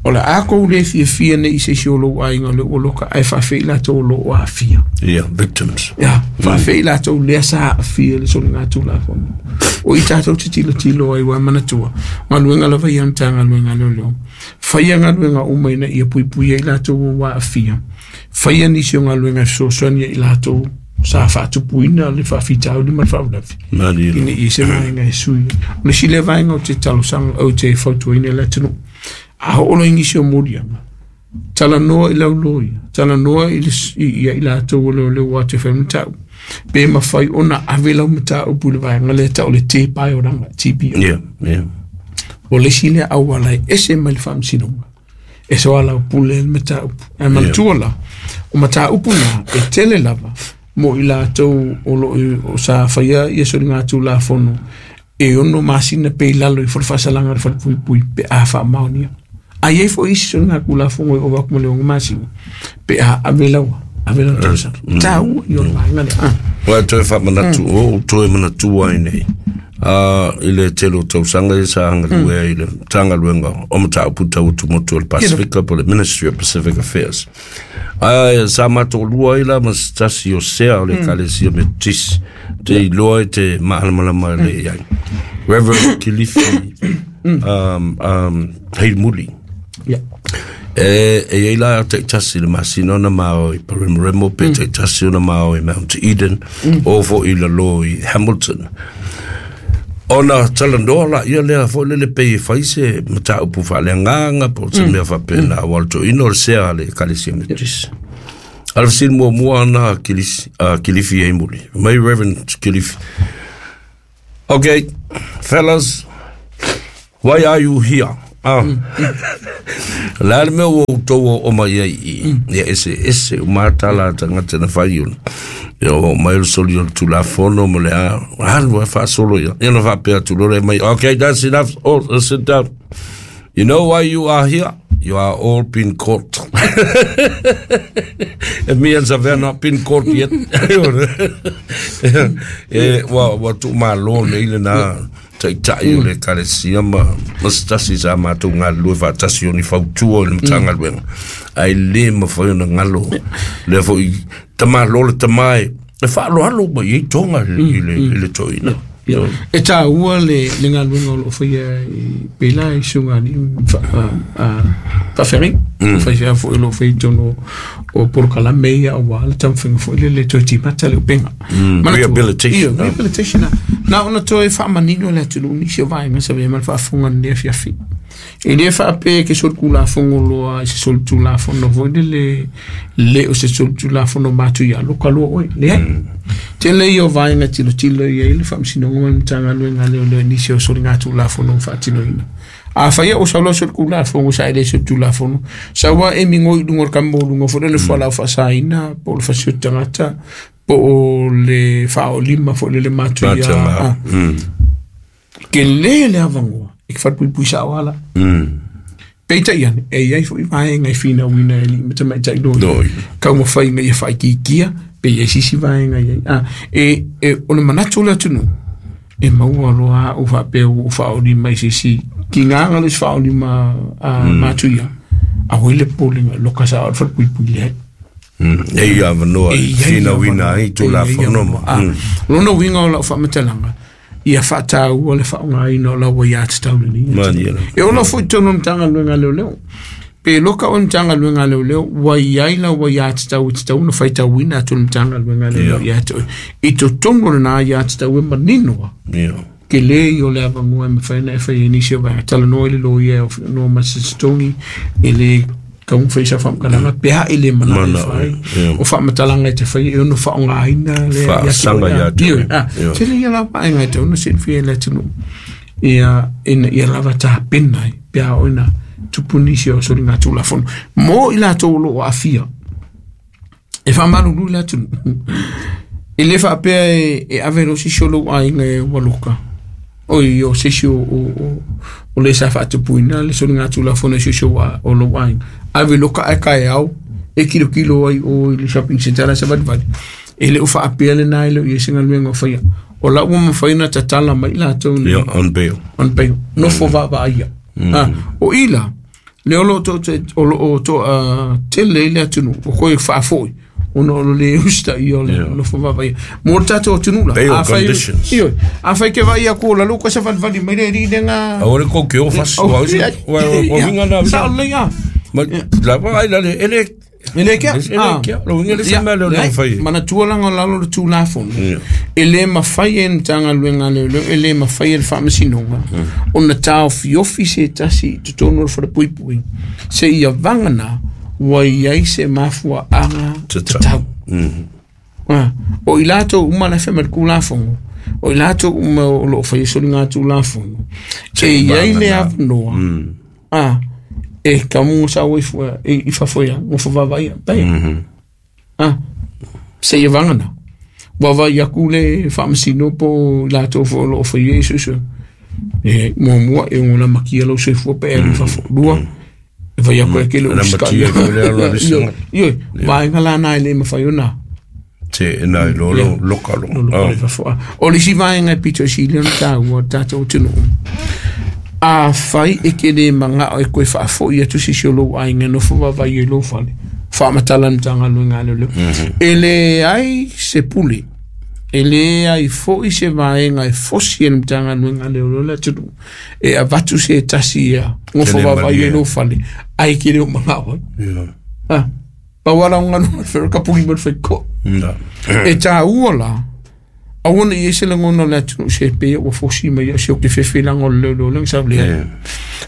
O le ako le fia fia ne i se si o lou ainga le o loka ai whawhei la tau lo o a fia. Yeah, victims. Yeah, whawhei la tau lea sa a fia le soli ngā tūlafono. O i tātou te tilo tilo ai wā manatua. Ngā luenga lava ia mtanga luenga leo leo. Whaia ngā luenga uma ina ia pui pui ai lātou o wā a fia. Whaia nisi o ngā luenga sosoania i lātou Sa faatupuina le faafitauli ma le faalavelave ina ia se vaega e sui. O le isi lea vaega ou te talosaga ou te fautuaina i le atunuu, a oo loa i nisi o moliaga, talanoa i lau loia, talanoa i le ia i latou o leoleo ua te fai mataupu, pe mafai ona ave lau mataupu i le vaega lea e tau o le tepa e olaga, TPO. Yeah, yeah. O le isi lea auala e ese mai le faamasinoga, e soalaupule ai le mataupu. Ae manatua la, o mataupu na e tele lava mo i latou o lo o sa faia ia soligatulafono e 6 masina pe i lalo ifo o le faasalaga a le falepuipui pe a faamaonia. A i ai foi isi soligatulafono e ova atu ma le 6 masina pe a ave lau ave lau talosaga. Taua ia o le vaega lea. Ah. Ua toe faamanatu, o toe manatua ai nei. I le tele o tausaga ia sa galue ai i le Matagaluega o Mataupu Tau Atumotu o le Pasifika po o le Ministry of Pacific Affairs. Ae sa matou lua ai la ma se tasi o sea o le Ekalesia Metotisi te iloa i te maalamalama le i ai. Reverend Kilifi Heimuli. Yeah. E i ai la taitasi i le masina ona mao i Paremoremo pe taitasi ona mao i Mount Eden o foi i lalo i Hamilton. Ona talanoa la ia lea foi lele pei e fai se mataupu faaleagaga po o se mea faapena aua o le toeaina o le sea a le Ekalesia Metotisi. A o le fesili muamua na a Kilifi Heimuli. Mai Reverend Kilifi. Okay, fellas, why are you here? Ah. Le a le mea ua outou oo mai ai i i, ia eseese uma lava tala a tagata na fai ona. Ia oo mai o le soli o le Tulafono ma le a, alu lava faasolo ia. Ia ona faapea atu loa lea mai, okay, that's enough, all, sit down. You know why you are here? You are all been caught. It means I've not been caught yet. E, ua, ua tuumalo nei lena taitai o le Ekalesia ma, ma se tasi sa matou galulue faatasi o ni fautua i le Matagaluega. Ae le mafai ona galo lea foi tamalo le tama e, e faaaloalo mai ai toga i le, i le toeaina. E taua le, le galuega o lo o faia i pela i susuga alii faafeagaiga. Faifeau foi o lo o faia i totonu o polokalame ia aua le taumafaiga foi lele e toe timata le upega. Manatua- Rehabilitation. Ia, rehabilitation. Na ona toe faamanino le atunuu nisi o vaega sa avea ma le faafofoga i lenei afiafi. E le faapea e ke solitulafono loa i se solitulafono foi lele le o se solitulafono matuia loka loa oe. Leai. Tele ia o vaega e tilotilo i ai le Faamasinoga ma le Matagaluega a Leoleo i nisi o soligatulafono ua faatinoina. Afai o sau loa solitulafono sa e le solitulafono, sau a e migoi i luga o le kamo luga foi lele fualaau faasaina po o le fasioti tagata po o le faaolima foi lele matuia. Matuia. Tele le avanoa e te falepuipui sao lava la. Peitai ane, e i ai foi vaega e finauina e alii ma tamaitai loia. Taumafai ina ia faaitiitia, pe i ai se isi vaega e i ai. A, e, e, o le manatu o le atunuu, e maua loa au faapea ua ou faaolima i se isi tigaga le isi faaolima a matuia, aua le popolega, loka sao le falepuipui leai. E i avanoa E e i ai finauina avanoa, ai e i ai Tulafono ma. avanoa. A, lona uiga o lau faamatalaga, ia faataua le faaaogaina o lau aiatatau lenei. Malie lava. E ola foi i totonu o le Matagaluega a Leoleo. Pe loka oe i le Matagaluega a Leoleo, ua i ai lau aiatatau e tatau ona faitauina atu e le Matagaluega a Leoleo ia te oe. I totonu o lena aiatatau e manino lava, tele ia o le avanoa e mafai ona e fai ai nisi o vaega. Talanoa i le loia e noa ma se totogi, e le tatau ona fai sau faamatalaga pe a e le manao e fai. O faamatalaga e te fai e ono faaaogaina lea Faasaga ia te oe. Tele ia la vaega e tatau ona silafia e le atunuu ia ina ia lava tapena ai pe a oo ina tupu nisi o soligatulafono mo i latou o lo o aafia. E faamalulu i le atunuu. E le faapea e ave loa se isi o lou aiga e ua loka. Oi, o se isi o le sa faatupuina le soligatulafono i se isi o lou aiga. Ave loka ae taeao e kilokilo ai o i le shopping centre la e savalivali. E le o faapea lena e le o i ai se galuega o faia. O la ua mafai ona tatala mai latou nei. Yeah, on bail. On bail. Nofo vaavaaia. Ah, o i la, lea o lo o o lo o toatele ai le atunuu ua toe faafoi ona o le lē usitaia o le nofo vaavaaia mo le tatou atunuu la. Bail Afai, conditions. ioe, afai e te vaai atu o lalo ua savalivali mai le alii lea na Aua le kou ke o fasi, ua usi, ua o winga na. Sao lelei a. Ma, la vaai la le, ele, E le kea. E le kea. Lo inga le se mea leo le fai. Manatua langa lalo le Tulafono. E le mafai e Matagaluega a Leoleo, e le mafai e le Faamasinoga ona taofiofi se tasi i totonu o le falepuipui se ia vagana ua i ai se mafuaaga tatau. O i latou uma la fai mai le Tulafono, o i latou uma o loo faia soliga Tulafono, e i ai le avanoa e kamu sa oi fua i fafo ia mo fa ia pe se ia vagana ua vai aku le Faamasino po latou fo lo fai e susu e muamua e ona makia lo soifua pe alu fafo lua e vai aku e ke le uska io vaenga la na le mafai ona te na lo lo lokalo lo fafo o le si vaenga pito si le ona ua tatou tunu a fai e ke le manga e koe faafo ia tu si lo ainga no fo vai e lo fale faamatala Matagaluega a Leoleo e le ai se pule e le ai fo'i se vaega e fosi e le Matagaluega a Leoleo le atunuu e avatu se tasi ia gofo vavai e lou fale ai ke le o magao ai pau ala o ganu fero ka puli mo le faikoa e tāua la aua ne i ese lagona o le atunuu se pea ua fosi mai ia se o ke fefelaga o le leoleo lega sa lea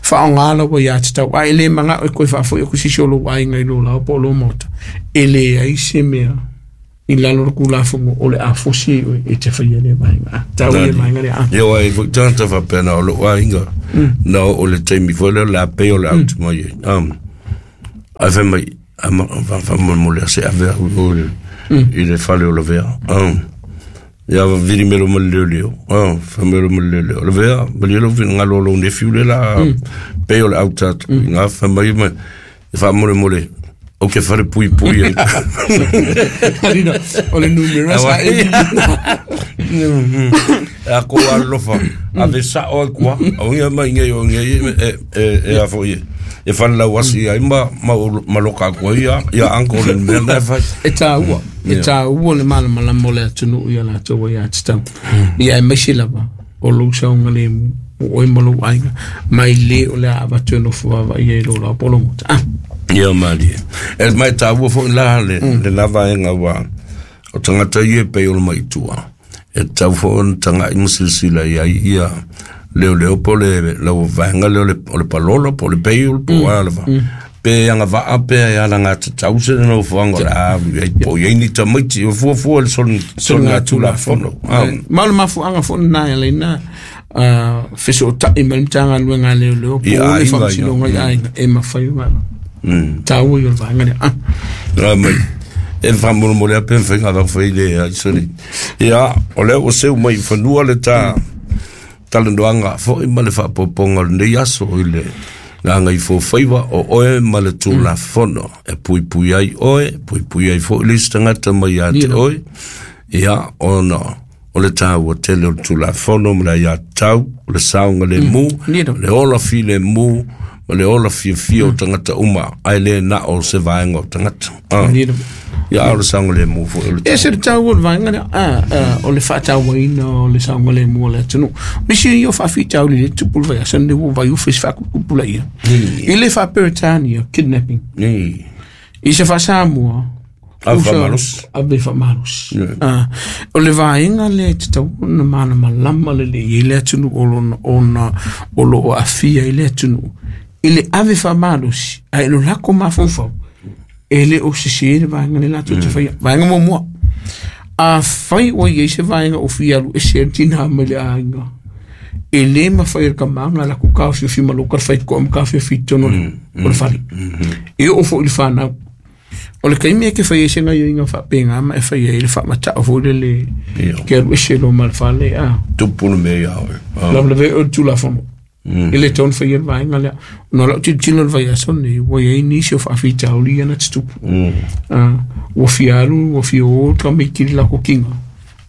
faaaogā laua iā tatau a e lē magao e koe faafo'i aku sisi o lou aiga i lō lao po o lō maota e leai se mea i lalo le Tulafono o le a fosi ai oe e te faia lea vaega taua ia vaega lea ia uā e fo'i tagata faapena o lo'u aiga na oo le taimi foi lea o le a pei o le autu mai ai ae fai mai faamolemole a se ave au i o i le fale o Lavea ia vili melo ma le leoleo fai mai ma le leoleo Lavea malie lou finagalo o lou nefiu le la pei o le auta atu i gā fai mai ma e faamolemole o ke fale pui pui ai Alina o le numera sa e a ko alofa ave sa'o ai kua o ia mai ngai o ngai e a foi e whana lau asi ai ma ma loka ko ia ia uncle le mea na fai e tāua e tāua le malamalama o le atunuu ia latou ai atatau ia e maise lava o lou saoga lemu o oe ma lou aiga mai lē o le a avatu e nofo vavaia i lō lao po o lou mota ia malie e mai tāua foi la le le lava e ngā wā o tangata ia pei o le maitua e tau foi ona taga'i ma silasila i ai ia leo leo po le lau vaega lea o le palolo po o le peiul po o a lava pe agava'a pe e alaga tatau se nofoaga o le a ai po i ai ni tamaiti o fuafua le soliga Tulafono ma o le mafuaga fo'i lenā e alaina fesoota'i ma le Matagaluega a Leoleo po o le Faamasinoga i aiga e mafai ona taua i o le vaega lea a mai e faamolemole a pe mafaiga avau fai le ai soli ia o lea ua seu mai i fanua le tā talanoaga fo'i ma le faapopoga o lenei aso i le gaga i fofaiva o oe ma le Tulafono e puipui ai oe puipui ai fo'i le isi tagata mai ia te oe ia ona o le tāua tele o le Tulafono ma le aiātatau o le saoga lemu le ola filemu ma le ola fiafia o tagata uma ae lē na o se vaega o tagata ia o le saoga lemu fo'i o le e se le taua o le vaega lea o le faatauaina o le saoga lemu o le atunuu nisi ia o faafitauli le tupu le vaiaso nei ua vaiufe se faakupulaia i le faa-Peretania kidnapping i se faa-Samoa Ave faamalosi. Ave faamalosi. O le vaega lea e tatau ona malamalama lelei ai le atunuu o lona ona o loo aafia ai le atunuu i le ave faamalosi ae lo lako mafaufau e le o sesē le vaega le latou te faia vaega muamua afai ua i ai se vaega o fia alu ese ai le tinā mai le aiga e lē mafai e le kamaga lakou taofiofi ma lou talafaikoa ma taofiofi i totonu o le fale e oo fo'i le fanau o le taimi e ke fai ai se gaioiga faapegā ma e fai ai le faamata'o foi lele ke alu ese loa ma le fale a tupu le mea ia oe lavelave o le Tulafono e le tatau ona faia le vaega lea ona o la'u tilotilo le vaiaso nei ua iai nisi o faafitauli ia na tutupu ua fia alu ua fia ō tamaiti i le lako kiga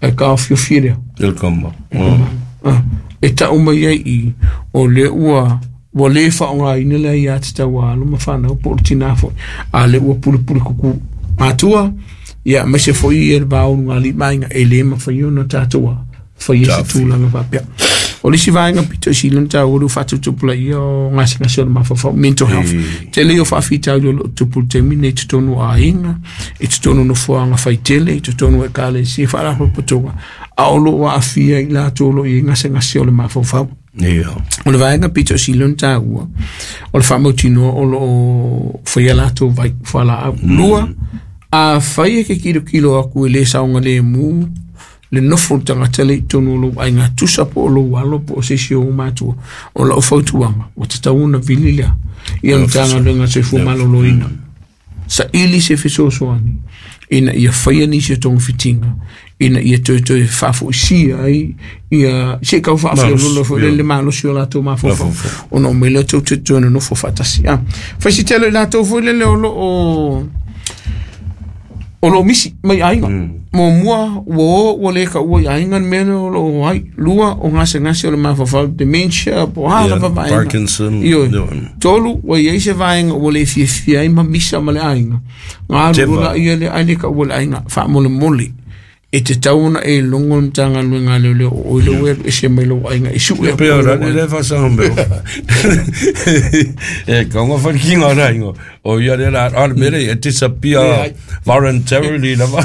ae taofiofi e lea le kama e ta'u mai ai i o lea ua ua lē faaaogāina le aiā tatau a alo ma fanau po o le tinā fo'i a lea ua pulepule kuku matua ia maise fo'i ia le va o luga ali'i ma aiga e lē mafai ona tatou a faia se tulaga faapea. O le isi vaega pito i sili ona taua le ua faatuputupulaia o gasegase o le mafaufau, mental health. Tele ia o faafitauli o lo o tupu i le taimi lenei i totonu o aiga, i totonu o nofoaga faitele, i totonu o ekalesia, faalapotopotoga, a o lo o aafia i latou o lo o i ai gasegase o le mafaufau. O le vaega pito i sili ona taua, o le faamautinoa o lo o faia latou vai fualaau. Lua, afai e ke kilokilo atu e le saogalemu le nofo o le tagata lea i totonu o lou aiga tusa po o lou alo po o se isi o ou matua, o lau fautuaga, ua tatau ona vili lea i le Matagaluega o le Soifua Maloloina. Saili se fesoasoani ina ia faia nisi o togafitiga ina ia toe faafoisia ai ia se i tau faafeoloolo foi le malosi o latou mafaufau ona omai lea tou te toe nonofo faatasi. Fai si tele i latou foi lele o lo o misi mai aiga. Muamua ua o ua le taua i aiga le mea lea o lo o ai. Lua, o gasegase o le mafaufau, dementia, po o a lava vaega. Parkinson. Ioe. Tolu, ua i ai se vaega ua le fiafia ai ma misa ma le aiga. Galu loa ia lea ai le taua le aiga, faamolemole. E tatau ona e logo le Matagaluega a Leoleo o oe lea ua alu ese mai lou aiga e sue atu. Pe o rani le faasanga mea. E kaunga wharikinga o rā ingo. O ia le la, a le mere, e disappear voluntarily lava.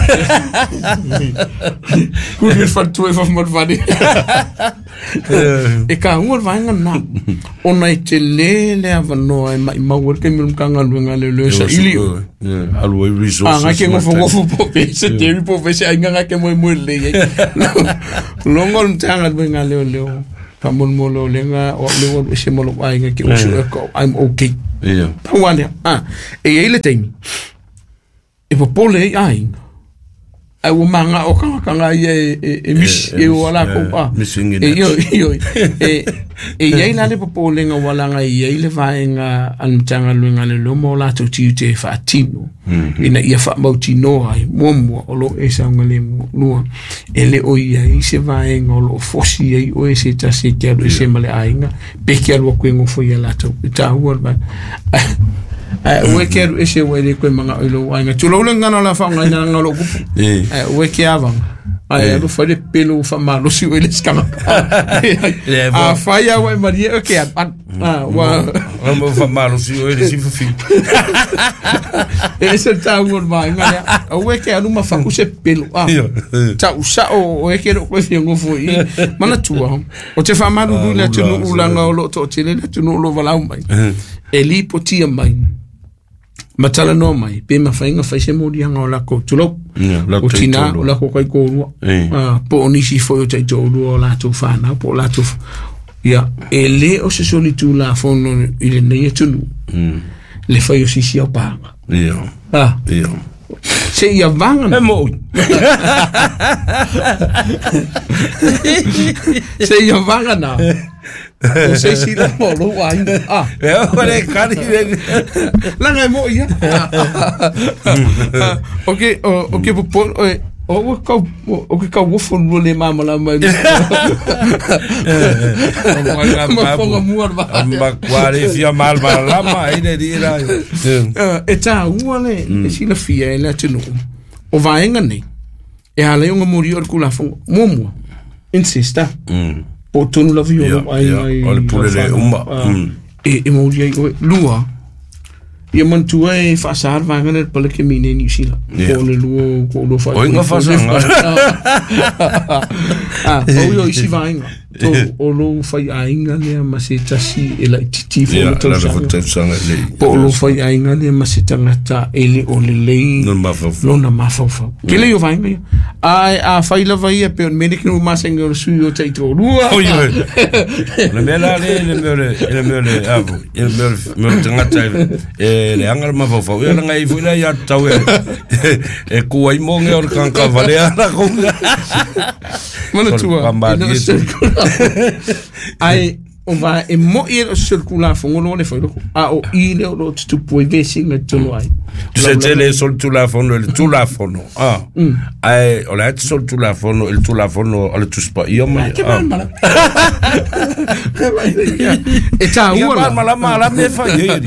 Kuri le whatua e whawhamarwhare. E ka ua le vaega na. Ona e te le le avanoa e mai mau e taimi o le Matagaluega a Leoleo e saili oe. Alu ai resources. A ngai ke ngofo ngofo po pe se teri po pe se ainga ngai ke moe moe lelei ai. Logo le Matagaluega a Leoleo. Faamolemole o lega o au lea ua alu ese ma lou aiga ke usu e ko I'm okay. Pau lava lea. E i ai le taimi e popole ai aiga ae ua magao tagata ia e misi e o a lakou a. Missing in E action. ioe, ioe. E i ai la le popolega ua laga e i ai le vaega a le Matagaluega a Leoleo ma o latou tiute e faatino ina ia faamautinoa ai, muamua, o lo o e saogalemu, lua, e le o i ai se vaega o lo o fosi ai oe se tasi e te alu ese ma le aiga, pe ke alu atu e nofo ia latou. E taua le vaega. Ae aua e ke alu ese ua e le koe manaʻo i lou aiga. Tulou le gagana o le a faaaogaina leaga o lou kupu. Ae aua e ke avaga. Ae alu fai le pelu faamalosi oe i le isi tagata. Afai lava ua e malie oe ke alu, alu. Ua Mo faamalosi oe i le sifafiu. E ese le taua o le vaega lea. Aua e ke alu ma faku se pelu. Tau sao oe ke le o koe fia nofo i i. Manatua, ou te faamalulu i le atunuu leaga o lo o toatele le atunuu o lo o valaau mai. E lipotia mai ma talanoa mai pe mafai ona fai se moliaga o lakou, tulou, o tina o lakou taitoalua, po o nisi foi o taitoalua o latou fanau po o latou ia, e le o se solitulafono i lenei atunuu le fai o sisi aopaga. Se ia vaga E moʻi. Se ia vaga na o se isi lava o lou aiga. E o le kari le. Laga e moʻi ia. O ke o ke popole oe, o ua kau o ke kauofo lua le malamalama ai. Ma fonga mua le vaa. Ma kua le fia malamalama ai le li la. E taua le e silafia e le atunuu o vaega nei e ala ai ona molia o le Tulafono. Muamua, incest, po o tonu lava i o lou aiga i O le pule le uma. E molia ai oe. Lua, ia manatua e faasa le vaega lea i le paleke mi nei Niu Sila. Po o le lua o ko lua O inga faasanga. O ia o isi vaega. Tolu, o lou faiaiga lea ma se tasi e laitiiti foi Ia, le la tausaga. le tausaga le. Po o lou faiaiga lea ma se tagata e le o lelei No mafaufau. lona mafaufau. Tele ia o vaega ia. Ae afai lava ia pe o le mea lea ke nuu masani o le sui o taitoalua. Oi, oi. O le mea la le, le mea o le, le mea o le, a foi, le mea o le, mea o le tagata e le anga le mafaufau. Ia langa i foi la ia tau e, e kua i mo nge o le kanka vale a la konga. Manatua, Sorry, e le o se Ai, O va e mo i o se tulafono le fai a o i le o tutupu i vesi ngai tonu ai. Se tele sol tulafono le tulafono. Ah. Ai o le sol tulafono il tulafono ale tuspa ia mai. E tā ua la. Malama la me fa ye.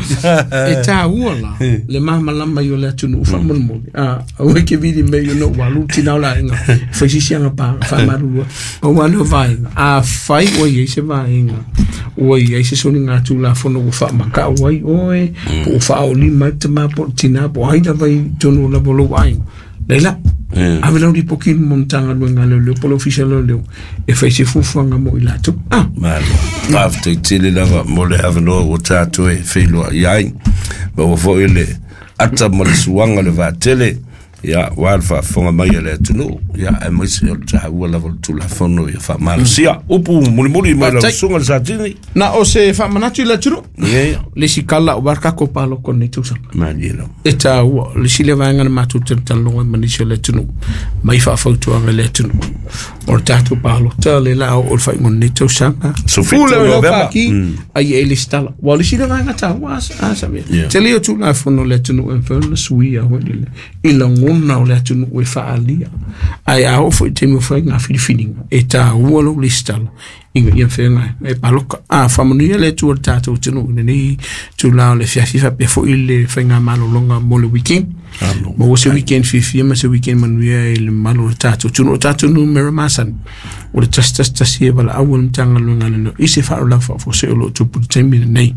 E tā ua la. Le malama yo le atunu fa mo. Ah, o ke vidi me yo no walu tina la inga. Fa sisi anga pa fa maru. O wa no vai. A fai o ye se vai inga. O ye se soni nga tulafono o fa maka o ai oe. O fa o lima te ma po tina po ai la vai tonu la bolo ai. Leila. Ave lau lipoti mo Matagaluega a Leoleo po o le Ofisa o Leoleo e fai se fuafuaga mo i latou. Ah. Malo. Faafetai tele lava mo le avanoa ua tatou e feiloai ai. Ma ua foi le ata ma le suaga le vaatele. Ia, ua le faafofoga mai a le atunuu. Ia, aemaise o le taua lava o le Tulafono ia faamalosia. Upu mulimuli mai lau susuga le Satini. Na o se faamanatu i le atunuu. Ia. Le isi kala o kako paloko nei tausaga. Malie lava. E taua, le isi le vaega na matou talatalanoa ai ma nisi o le atunuu, mai faafautuaga i le atunuu. O le tatou palota le la o le faaiuga o lenei tausaga. 17 Pule o lau Novema. faaki, ai e lesitala. Ua o le isi le vaega taua a sa mea. Yeah. Tele o Tulafono o le atunuu e mafai ona suia hoi le i lagona o le atunuu e faaalia. Ae a oo foi i taimi o faiga filifiliga, e taua lou lesitala ina ia mafai e paloka. A faamanuia le Atua i le tatou atunuu i lenei tula o le afiafi faapea foi le faiga malologa mo le weekend. Maua se weekend fiafia ma se weekend manuia i le mamalu o le tatou atunuu. O tatou numera masani o le 111 e valaau o le Matagaluega a Leoleo i se faalavelave faafuasei o loo tupu i le taimi lenei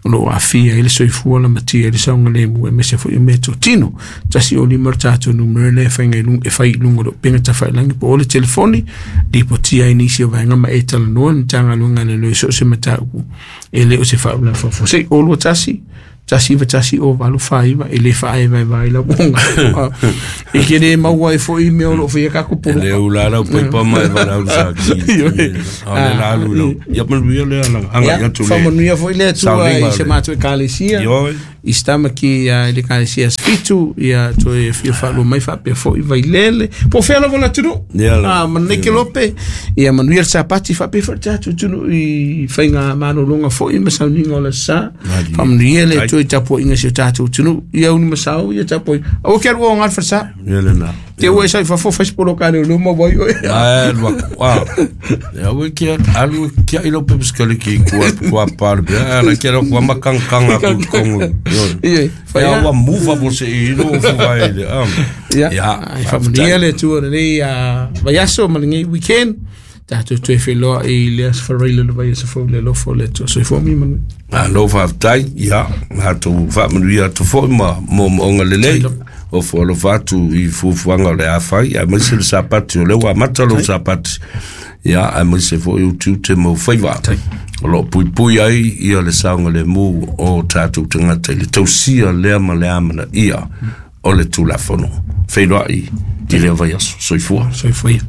o loo aafia ai le soifua lamatia ai le saogalemu aemaise foi o mea totino. 105 le tatou numera lea e faiga i luga e fai i luga o le upega tafailagi po o le telefoni lipotia ai nisi o vaega ma e talanoa le Matagaluega a Leoleo i so o se mataupu e le o se faalavelave faafuasei. O 21 191 o 85 e le faaevaevae lau onga. E ke le maua ai foi mea o loo faia kako E poloka. le ula lau paipa mai valaau sa ki. A le la alu lau. Ia manuia le ala. Anga Ia, ia tu le. faamanuia foi le Atua Sauniga i se le. matou ekalesia. Ioe. I sitamaki i le ekalesia Asofitu, ia toe fia faalua mai faapea foi Vailele. Po o fea lava o le atunuu. Ia la. Ah, manei ke lope. Ia manuia le Sapati faapea foi le tatou atunuu i faiga malologa foi ma sauniga o le aso sa. Malie. Faamanuia le Ai. Atua i tapuaiga si o tatou atunuu. Ia uni masao, ia tapuaiga. Aua ke alu o ngā le falesa. Ia le na. Te ua e sau i fafo fai se poloka le luma wai oe. Ai lua ku. Ah. Ia we kia alu kia i lau pepe ki kua kua pa le bia. Ala kia lau kua makangkanga ku kongu. Ia, fai Ia a. ua mufa mo se i ro fu vai le. Ia, Ia. ai faamanuia le Atua lenei vaiaso ma lenei weekend. Tatou toe feiloa i le aso faraile le vaiaso fou le alofa o le Atua. Soifua ma ia manuia. Malo faafetai, ia, matou faamanuia atu foi ma moomooga lelei. O fualofa atu i fuafuaga o le a fai, aemaise le Sapati o lea ua amata lou Sapati. Ia, aemaise foi utiute ma ufaiva. O loo puipui ai ia le saogalemu o tatou tagata i le tausia lea ma le amanaia o le Tulafono. Feiloai i lea vaiaso. Soifua. Soifua ia.